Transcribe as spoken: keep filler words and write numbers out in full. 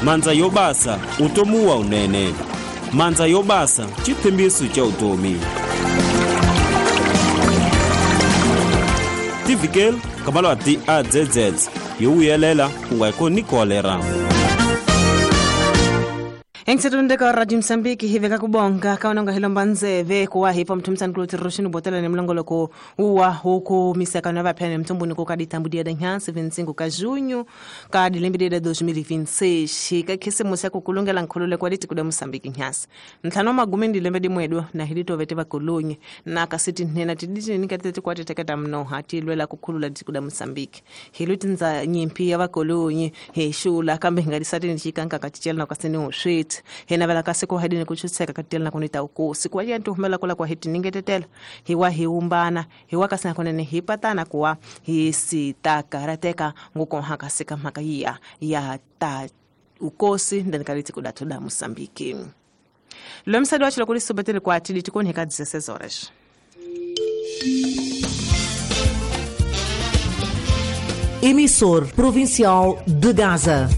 Mandza yo basa utomi wa unene. Mandza yo basa xitshembiso xa utomi. Tivikele kabalwa ti A Z Z yo vuyelela ku nga koni kolera. Engsetunda ka Radio Mozambique hiveka kubonga kaononga hilomba nzeve kuwa hipo mtumsani kuloti roshini botela ni mlongoloko uwa huku misaka na vapene mtumbuni kukaditambudia danhansi vinte e cinco ka junho ka dilembe de dois mil e vinte e seis ka khisimusi ya kukulungela nkhulule kwa liti kuda Mozambique nhasi ntlhanu magume ndilembe dimwedo na hilito vete vakolonyi na kasiti nena tiditi nikatete kwa teteketa mnoha tilwela kukhulula tikuda Mozambique hiluti nza nyimpi ya vakolonyi heshula kambe ngalisati nichikanka katichela na kasini uswiti hena vela kasi ko hadini kuchutseka katela na kunita ukosi kwa yantu humela kula kwa hiti ningetetela hiwa hiumbana hiwa kasi nakonene hipatana kuwa hisitakarateka nguko hakasika mhaka ya ya ta ukosi ndani kaliti kudatuda Mozambique. Lomsadi wa chilo kulisubetele kwa atili tikoni heka dezesseis horas. Emissor Provincial de Gaza.